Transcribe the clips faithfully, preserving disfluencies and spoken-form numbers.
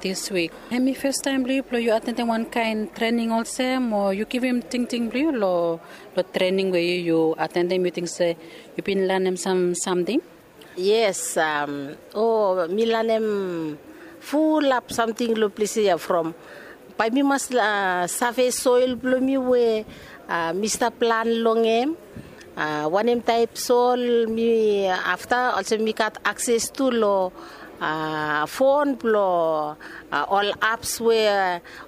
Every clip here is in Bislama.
Dis wik, hemi festaem blong yu blong yu atendim wan kaen trening olsem o yu givim tingting blong yu long trening we yu atendim, yu ting se yu bin lanem sam samting? Yes, o mi lanem fulap samting long ples ya from bae mi mas save soel blong mi we mi stap plan long hem, wanem taep sol mi afta olsem mi gat akses tu long fon blong ol aps we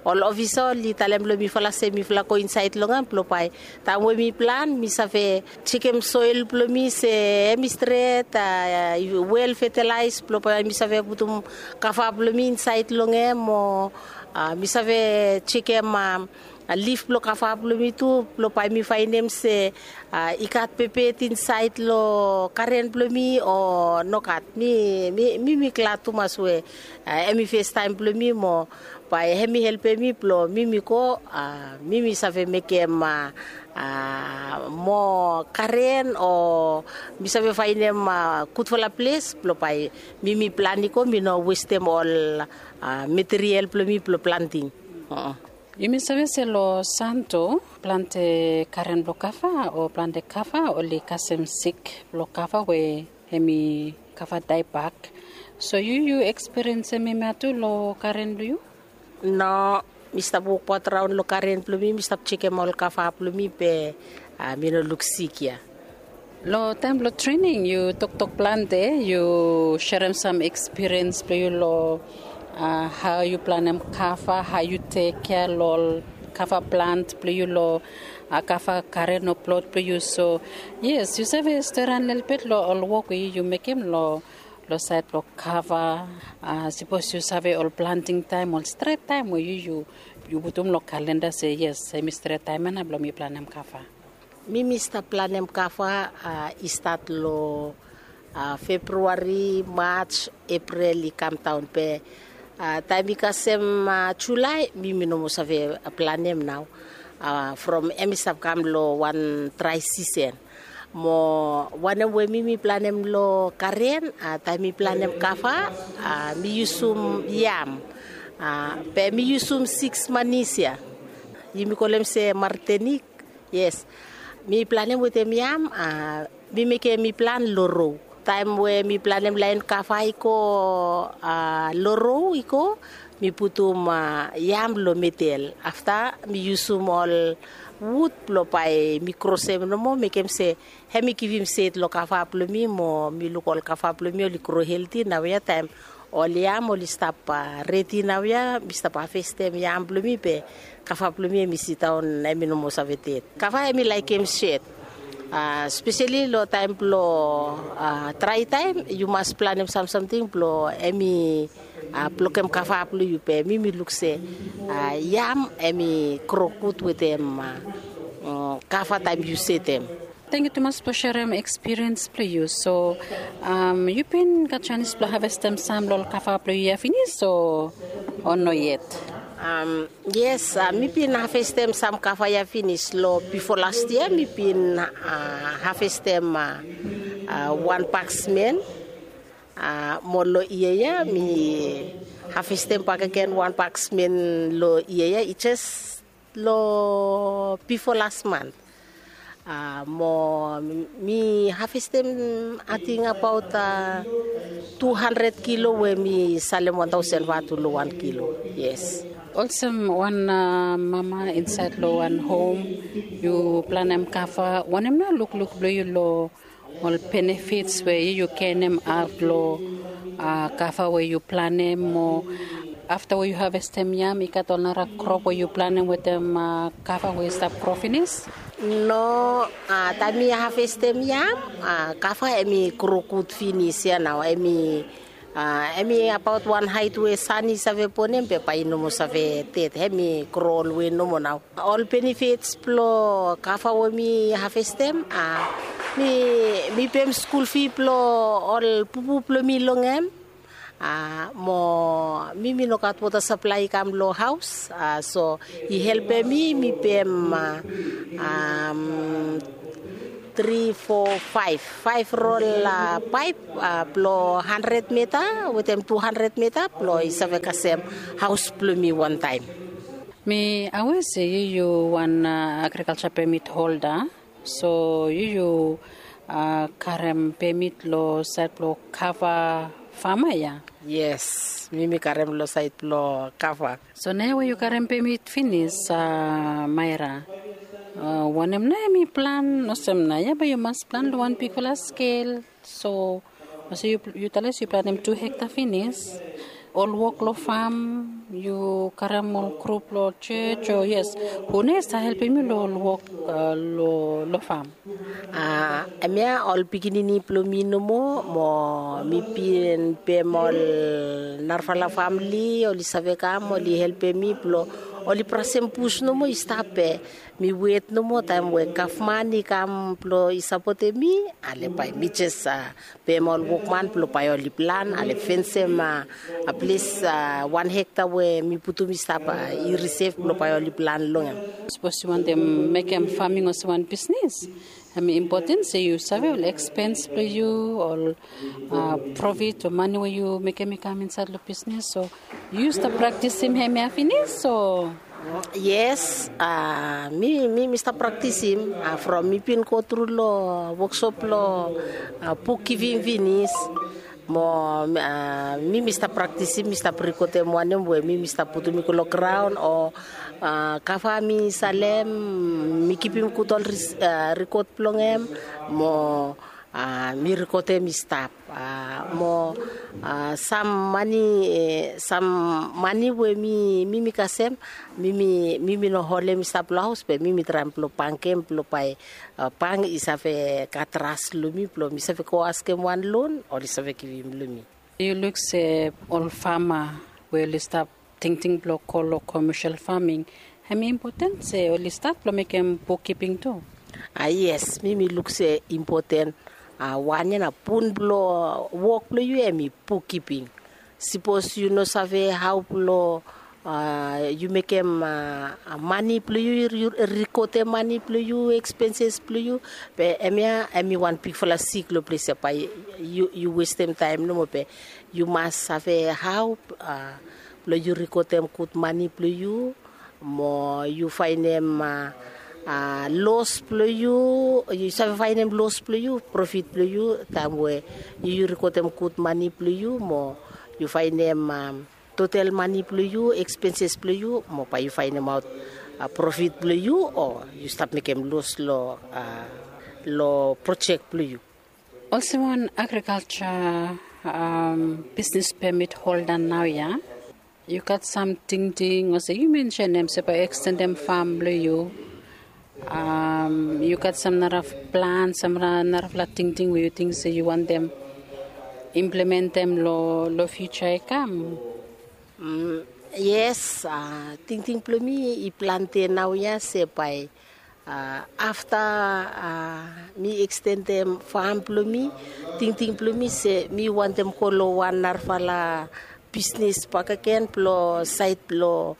ol ofisa oli talem long mifala se mifala go insaed long hem blong bae taem we mi plan mi save jekem soel blong mi se hemi stret, wel fetalaes blong bae mi save putum kava blong mi insaed long hem o mi save jekem lif blong kava blong mi tu blong bae mi faenem se i gat pepet insaed long garen blong mi o nogat. Mi mi mi glad tumas we hemi festaem blong mi mo bae hemi helpem mi blong mi mi go mi mi save mekem moa garen o mi save faenem gudfala ples blong bae mi mi plan i go mi no westem ol material blong mi blong planting. Yumi save se long santo plante garen blong kava o plante kava oli kasem sik blong kava we hemi kava daebak. So yu yu ekspiriensim hemia tu long garen blong yu? No, mi stap wokbaot raon long garen blong mi mi stap jekem ol kava blong mi be mi no luk sik ya. Long taem blong trening yu toktok plante, yu serem sam ekspiriens blong yu long hao yu planem kava, hao yu tekkea long ol kava plant blong yu long kava garen o plot blong yu. So yes, yu save steran lelebet long ol wok we yu mekem long saed blong kava. Sipos yu save ol planting taem ol stret taem we yu yu putum long kalenda se yes, hemi stret taem ya nao blong mi planem kava. Mi mi stap planem kava i stat long februari, maj, epril i kamdaon be taem i kasem julae mi mi no moa save planem nao. From hemi stap kam long wan drae sisen mo wanem we mi mi planem long garen, taem mi planem kava mi yusum yam be mi yusum siks manis ya. Yumi kolem se martenik. Yes, mi planem wetem yam. Mi mekem mi plan long ro. Taem we mi planem laen kava i go long ro i go, mi putum yam long medel afta mi yusum ol wud blong bae mi krosem nomo mekem se hemi givim sed long kava blong mi mo mi luk ol kava blong mi oli gro helti naoia taem ol yam oli stap redi naoia mi stap havestem yam blong mi be kava blong mi hemi sidaon hemi no moa save ded. Kava hemi laekem sed speseli long taem blong drae taem yu mas planem samsamting blong hemi blokem kava blong yu be mi mi luk se yam hemi gro gud wetem kava taem yu setem. Tangkiu tumas blong serem ekspiriens blong yu. So yu bin gat janis blong havestem sam long ol kava blong yu ya finis o no yet? Yes, mi bin havestem sam kava ya finis long bifo las yia mi bin havestem wan baksmen. Mo long yia ya mi havestem bakegen wan baksmen long yia ya i jes long bifo las man. Mo mi havestem ating abaot tu handred kilo we mi salem wan taosen vatu long wan kilo. Yes. Olsem wan mama insaed long wan hom yu planem kava wanem nao lukluk blong yu long ol benefits we yu yu genem aot long kava we yu planem mo afta we yu havestem yam i gat ol nara krop we yu planem wetem kava we i stap gro finis? No, taem mi havestem yam kava hemi gro gud finis ya nao hemi hemi abaot wan haet we san i save bonem be bae i no moa save ded hemi gro olwe nomo nao. Ol benefits blong kava we mi havestem mi mi pem skul fi blong ol pupu blong mi long hem. Mo mi mi no gat wota saplae i kam long haos so i helpem mi mi pem tri fo faef faef rol paep blong handred mita wetem tu handred mita blong i save kasem haos blong mi wantaem. Mi awe se yu yu wan agrikalsa pemit holda, so yu yu karem pemit long saed blong kava fama ya? Yes, mi mi karem long saed blong kava. So naoia we yu karem pemit finis, maira, wanem nao em i plan olsem nao ya bae yu mas plan long wan bigfala skel? So olsem yu talem se yu planem tu hekta finis, ol wok long fam, yu karem ol grup long jos o yes, hu nao i save helpem yu long ol wok long fam? Hemia ol pikinini blong mi nomo, mo mi bin pem ol narafala famili oli save kam oli helpem mi blong oli brasem bus nomo i stap be mi wet nomo taem we gavman i kam blong i sapotem mi, ale bae mi jes pem ol wokman blong bae oli plan ale fensem ples wan hekta we mi putum i stap i risef blong bae oli plan long hem. Sapos yu wantem mekem faming olsem wan bisnis, hem i impoten se yu save ol ekspens blong yu, ol profit o mane we yu mekem i kam insaed long bisnis. So yu stap praktisim hemia finis o? Yes, mi mi mi stap praktisim from mi bin go tru long woksop blong bukgiving finis. Mo mi mi stap praktisim, mi stap rikotem wanem we mi mi stap putum i go long graon o kava mi salem, mi kipim gud ol rikot blong hem. Mo mi rikotem i stap mo sam mane, sam mane we mi mi mi kasem, mi mi mi mi no holem i stap long haos be mi mi traem blong bangem blong bae bang i save gat tras long mi blong mi save go askem wan lon oli save givim long mi. Yu luk se ol fama we oli stap tingting blong go long komesel faming, hem i impoten se oli stat blong mekem bukgiving tu? A yes, mi mi luk se impoten. Wan ya na bun blong wok blong yu hem i bukgiving. Sipos yu no save hao blong yu mekem mane blong yu, yu rikotem mane blong yu, ekspenses blong yu, be hemia hem i wan bigfala sik long ples ya bae yu westem taem nomo be yu mas save hao blong yu rikotem gud mane blong yu, mo yu faenem los blong yu, yu save faenem los blong yu, profit blong yu taem we yu yu rikotem gud mane blong yu mo yu faenem total mane blong yu, ekspenses blong yu mo bae yu faenemaot profit blong yu o yu stap mekem los long long projek blong yu. Olsem wan agrikalsa bisnis pemit holda naoia, yu gat sam tingting olsem yu mensenem se bae ekstendem fam blong yu? Yu gat sam narafala plan, sam narafala tingting we yu ting se yu wantem implementem long fiuja i kam? Yes, tingting blong mi i plante naoia se bae afta mi ekstendem fam blong mi, tingting blong mi se mi wantem go long wan narafala bisnis bakegen blong saed blong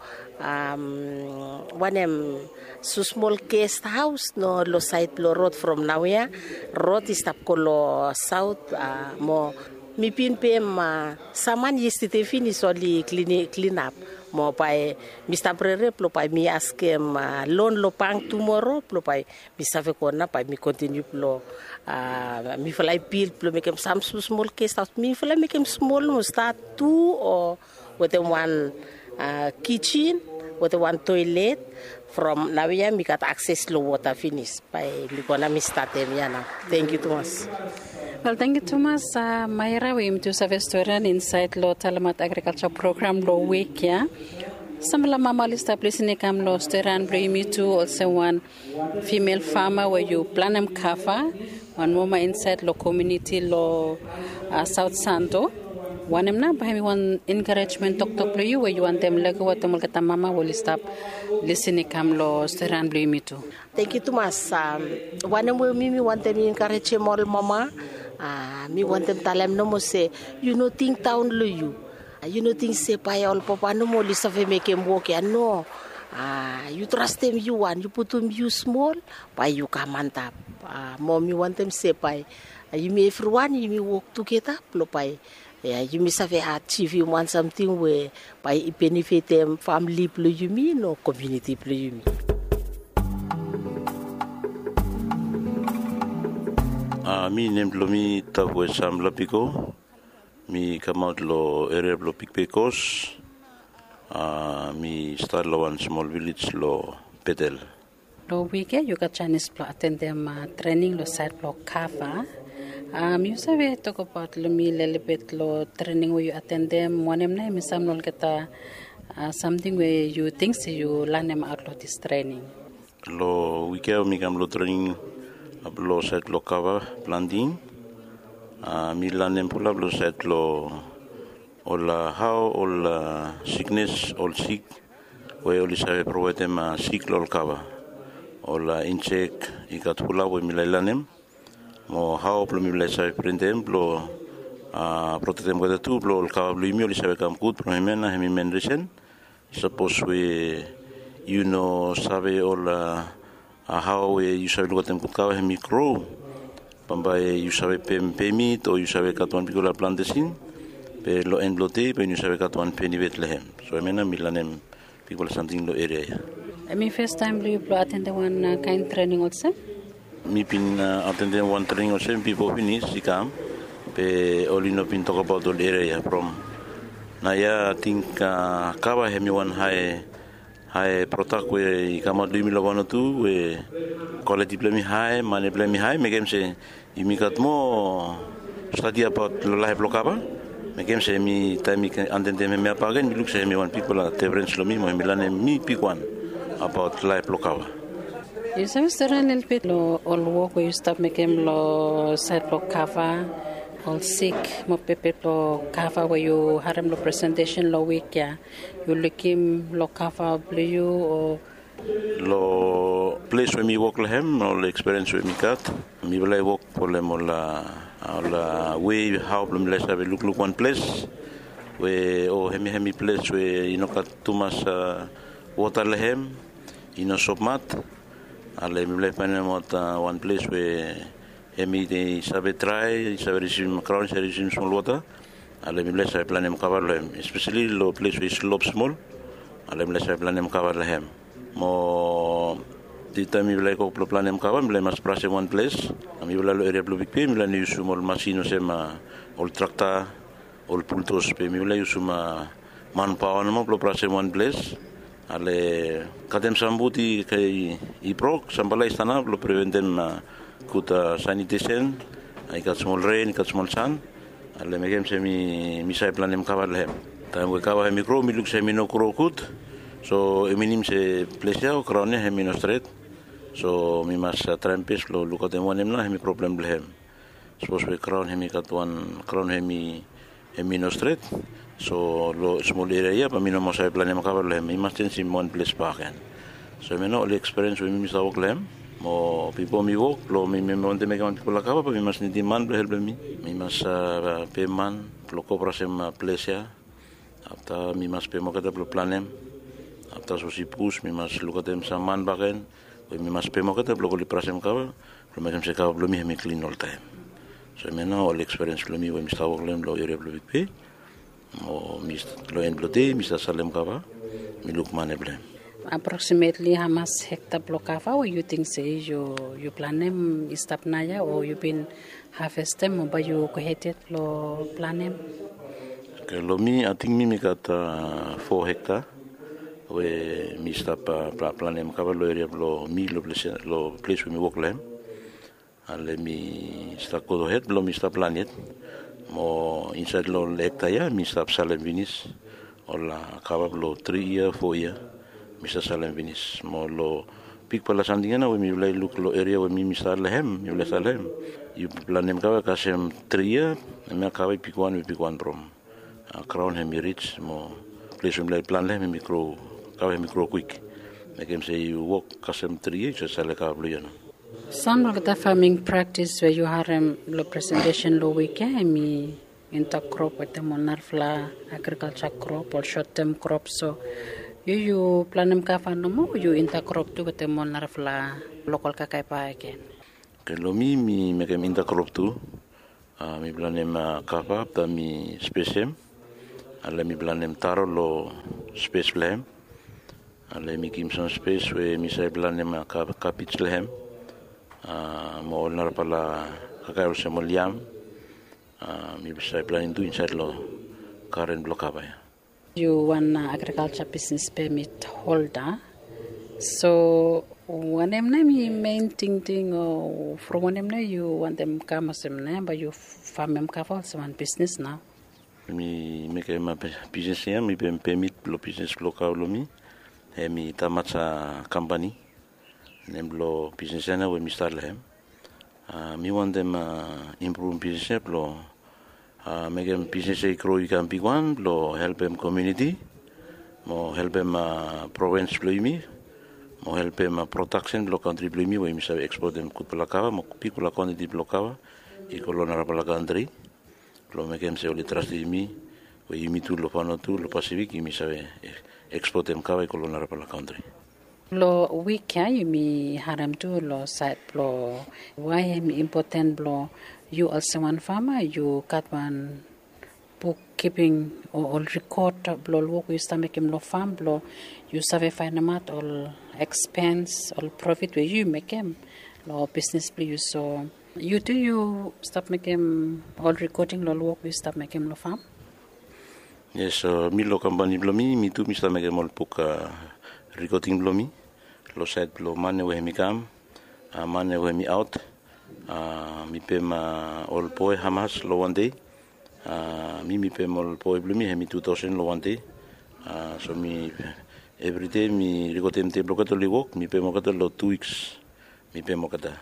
wanem, smosmol gest haos no long saed blong rod from naoia. Rod i stap go long saot mo mi bin pem sam man yestede finis oli klinap mo bae mi stap rere blong bae mi askem lon long bang tumoro blong bae mi save go nao bae mi kontiniu blong mifala i bil blong mekem sam smosmol gest haos, mifala i mekem smol nomo, stat tu o wetem wan kijin wetem wan toelet. From naoia mi gat akses long wota finis bae mi go nao mi statem ya nao. Tangkiu tumas. Wel, tangkiu tumas maira we yumi tu save storian insaed long talemat agrikalsa program blong wik ya. Samfala mama oli stap lisin i kam long storian blong yumi tu olsem wan fimel fama we yu planem kava wan mama insaed long komiuniti long saot santo. Wanem nao bae hem i wan enkarejmen toktok blong yu we yu wantem lego wetem olgeta mama we oli stap lisin i kam long storian blong yumi tu? Tangkiu tumas. Wanem we mi mi wantem enkarejem ol mama, mi wantem talem nomo se yu no tingdaon long yu. Yu no ting se bae ol papa nomo oli save mekem wok ya, no. A, yu trastem yu wan, yu putum yu smol, bae yu kam antap. A, mo mi wantem se bae, a, yumi evriwan yumi wok tugeta blo bae, a, yumi save ajivim wan samting we bae i benefitem famle blo yumi no komuniti blo yumi. A, mi nem blo mi Tavue Sam Lapiko. Mi kamaot lo eria blo Big Bay Coast. A, mi stat lo wan smol vilej lo Betel. Lo wik ya yu gat janis blo atendem, a, trening lo saed blo kava. A, mi yu save tokbaot lo mi lelebet lo trening we yu atendem, wanem nao hemi sam lo olgeta, a, samting we yu ting se yu lanemaot lo dis trening? Lo wik ya mi kam lo trening, a, blo saed blo kava planting. A, mi lanem fulap lo saed blo ol, a, hao ol, a, siknes, ol sik we oli save provaedem, a, sik lo ol kava. Ol, a, insek i gat fulap we mi lae lanem. Mo hao blo mifala i save preventem blo, a, protektem olgeta tu blo ol kava blo yumi oli save kam gud from hemia nao hemi men risen. Sapos we yu no save ol, a, hao we yu save lukaotem gud kava hemi gro, bambae yu save pem pemit o yu save gat wan bigfala plantesin, be lo en blo dei bae yu no save gat wan benefit lo hem. So hemia nao mi lanem bigfala samting lo eria ya. Hemi fes taem blo yu blo atendem wan, a, kaen trening olsem? Mi bin, a, atendem wan trening olsem bipo finis i kam, be oli no bin tokbaot ol eria ya from. Naoia ating, a, kava hemi wan hae, hae prodak we i kamaot lo yumi lo Vanuatu we kwaliti blo hem i hae, mane blo hem i hae, mekem se yumi gat moa stadi abaot lo laef blo kava. Mekem se mi taem mi atendem hemia bakegen mi luk se hemi wan bigfala difrens lo mi mo hemi lanem mi bigwan abaot laef blo kava. Yu save sere lelebet lo ol wok we yu stap mekem lo saed blo kava, ol sik mo pepe blo kava we yu harem lo presentesen lo wik ya? Yu lukim lo kava blo yu o? Lo ples we mi wok lo hem, ol ekspiriens we mi gat, mifala i wok folem ol, a, ol, a, wei hao blo mifala i save lukluk wan ples we o hemi, hemi ples we i no gat tumas, a, wota lo hem, i no sopmat. Ale mifala i faenemaot, a, wan ples we hemi save drae, i save risivim, graon i save risivim smol wota. Ale mifala i save planem kava lo hem, espeseli lo ples we i slop smol. Ale mifala i save planem kava lo hem. Mo taem mifala i go blo planem kava mifala i mas brasem wan ples. Mifala lo eria blo Big Bay mifala i no yusum ol masin olsem, a, ol trakta, ol buldos, be mifala i yusum, a, manpaoa nomo blo brasem wan ples. Ale katem sam wud i, i brok, samfala i stanap blo preventem, a, gud, a, sanitesen. A, i gat smol ren, i gat smol san. Ale mekem se mi, mi save planem kava lo hem. Taem we kava hemi gro mi luk se hemi no gro gud. So i minim se ples ya o graon ya hemi no stret. So mi mas, a, traem bes blo lukaotem wanem nao hemi problem blo hem. Sapos we graon hemi gat wan, graon hemi, hemi no stret. So lo smol eria ya bae mi no moa save planem kava lo hem, mi mas jenjem wan ples bakegen. So hemia nao ol ekspiriens we mi, mi stap wok lo hem. Mo bipo mi wok blo mi, mi wantem mekem wan bigfala kava bae mi mas nidim man blo helpem mi. Mi mas, a, pem man blo go brasem, a, ples ya. Afta mi mas pem olgeta blo planem. Afta sapos i bus mi mas lukaotem sam man bakegen we mi mas pem olgeta blo go oli brasem kava blo mekem se kava blo mi hemi klin oltaem. So hemia nao ol ekspiriens blo mi we mi stap wok lo hem lo eria blo Big Bay. Mo mi st-, lo en blo dei mi stap salem kava, mi luk mane blo hem. Aproksimetli hamas hekta blo kava we yu ting se yu, yu planem i stap naoia o yu bin havestem o bae yu gohed yet blo planem? Oke, lo mi, ating mi, mi gat, a, fo hekta we mi stap, a, pla-, planem kava lo eria blo mi, lo ples, lo ples we mi wok lo hem. Ale mi stap gohed blo mi stap plan yet. Mo insaed lo ol hekta ya mi stap salem finis ol, a, kava blo tri yia, fo yia. Mi stap salem finis. Mo lo bigfala samting ya nao we mifala i luk lo eria we mi, mi stap lo hem, mifala i stap lo hem. Yu planem kava kasem tri yia, hemia kava i bigwan, we bigwan from, a, graon hemi rij mo ples we mifala i plan lo hem hemi gro, kava hemi gro kwik. Mekem se yu wok kasem tri yia yu save sale kava blo yu ya nao. Sam lo olgeta faming praktis we yu harem lo presentesen lo wik ya hemi intercrop wetem ol narafala agrikalja krop, ol short term krop. So Yu yu planem kava nomo o yu intakrop tu wetem ol narafala lokal kakae bae gen? Oke, long mi mi mekem intakrop tu. Mi planem kava afta mi spesem. Ale mi planem taro long spes blong hem. Ale mi givim sam spes we mi save planem kapij long hem. Mo ol narafala kakae olsem ol yam, mi save planem tu insaed long garen blong kava ya. Yu wan agrikalja bisnes pemit holda. So wanem nao hem i men tingting o from wanem nao yu wantem kam olsem nao hem bae yu famem kava olsem wan bisnes nao? Mi mekem bisnes ya mi pem pemit blong bisnes blong kava long mi. Hem i tamaja kampani. Nem blong bisnes ya nao we mi stat long hem. Mi wantem impruvim bisnes ya blong mekem bisnes ya i gro i kam bigwan blong helpem komuniti, mo helpem provens blong yumi, mo helpem prodaksen blong kantri blong yumi we yumi save ekspotem gudfala kava mo bigfala kwantiti blong kava i go long narafala kantri. Blong mekem se oli trastem yumi we yumi tu long fano tu long pasifik yumi save ekspotem kava i go long narafala kantri. Long wik ya yumi harem tu long saed blong wae hem i impoten blong yu olsem wan fama yu gat wan buk kiping o ol rikot blong ol wok we yu stap mekem long fam blong yu save faenemaot ol ekspens ol profit we yu mekem long bisnes blong yu. So yu tu yu stap mekem ol rikoding long ol wok we yu stap mekem long fam? Yes, mi long kampani blong mi mi tu mi stap mekem ol buk rikoding blong mi long saed blong mane we hem i kam, mane we hem i aot. Mi pem ol boe hamas long wan dei. Mi mi pem ol boe blong mi hem i tu taosen long wan dei. So mi evri dei mi rikodem dei blong olgeta oli wok mi pem olgeta long tu wiks. Mi pem olgeta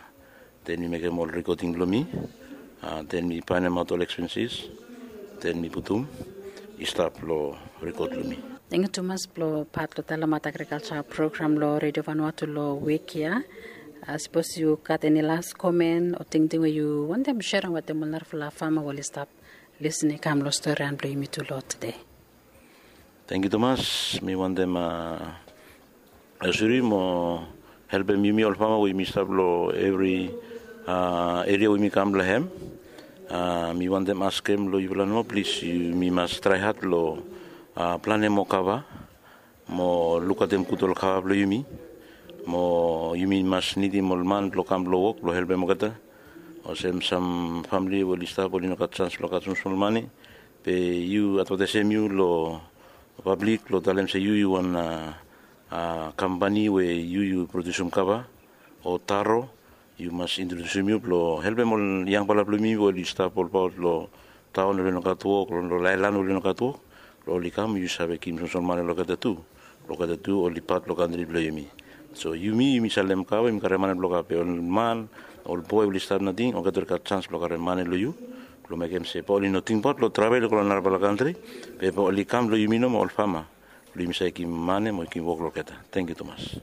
den mi mekem ol rikoding blong mi. Den mi paenemaot ol ekspensis den mi putum i stap long rikod blong mi. Tengiu tumas blong pat long talemaot agrikalja program long redio vanua tu long wik ya. Sapos yu gat eni las komen o tingting we yu wantem serem wetem ol narafala fama we oli stap lisin i kam long storian blong yumi tu long tude. Tengiu tumas. Mi wantem asuri mo helpem yumi ol fama we yumi stap long evri eria we yumi kam long hem. Mi wantem askem long yufala nomo plis yumi mas traehat long planem moa kava mo lukaotem gud ol kava blong yumi. Mo yumi mas nidim ol man blong kam blong wok blong helpem olgeta. Olsem sam famili we oli stap oli no gat sans blong gat smosmol mane be yu advataesem yu long pablik blong talem se yu yu wan kampani we yu yu produsim kava o taro. Yu mas introdusim yu blong helpem ol yangfala blong yumi we oli stap olbaot long taon oli no gat wok long laelan oli no gat wok blong oli kam yu save givim smosmol mane long olgeta tu. Blong olgeta tu oli pat blong kantri blong yumi. So yumi yumi salem kava yumi karem mane blong kava be ol man ol boe oli stap nating olgeta oli gat sans blong karem mane long yu blong mekem se bae oli no tingbaot blong travel i go long narafala kantri be bae oli kam long yumi nomo ol fama blong yumi save givim mane mo givim wok long olgeta. Tengiu tumas.